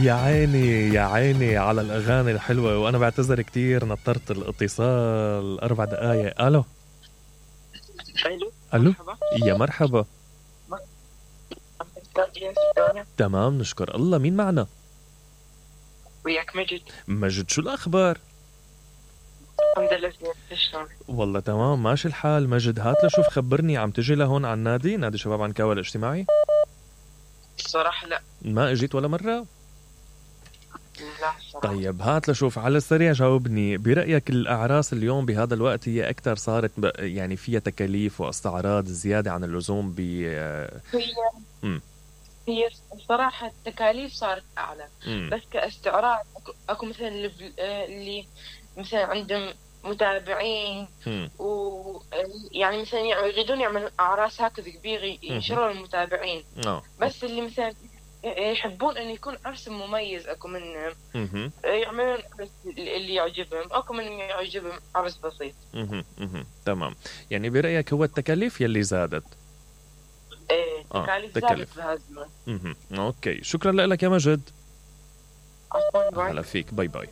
يا عيني يا عيني على الأغاني الحلوة، وأنا بعتذر كتير نطرت الاتصال 4 دقايق. ألو الو ألو، مرحبا. يا مرحبا. مرحبا. تمام نشكر الله، مين معنا؟ وياك مجد. مجد، شو الأخبار؟ الحمد لله زين، شلونك؟ والله تمام ماشي الحال. مجد هات لشوف، خبرني، عم تجي لهون على النادي، نادي شباب عنكاوي الاجتماعي؟ الصراحة لا. ما اجيت ولا مرة؟ لا الصراحة. طيب هات لشوف، على السريع جاوبني، برأيك الأعراس اليوم بهذا الوقت هي أكثر صارت يعني فيها تكاليف واستعراض زيادة عن اللزوم هي مم. هي الصراحة التكاليف صارت أعلى، مم. بس كاستعراض أكو مثلا اللي مثلا عندهم متابعين مم. يعني مثلا يريدون يعملوا أعراس هكذا كبيرة ينشروا المتابعين. بس اللي مثلا يحبون أن يكون عرس مميز أكو منهم يعملون عرس اللي يعجبهم، أكو من يعجبهم عرس بسيط. تمام، يعني برأيك هو التكاليف يلي زادت؟ ايه تكاليف زادت بهذا الزمن. اوكي، شكرا لك يا مجد. عفوا، باي. هلا فيك، باي باي.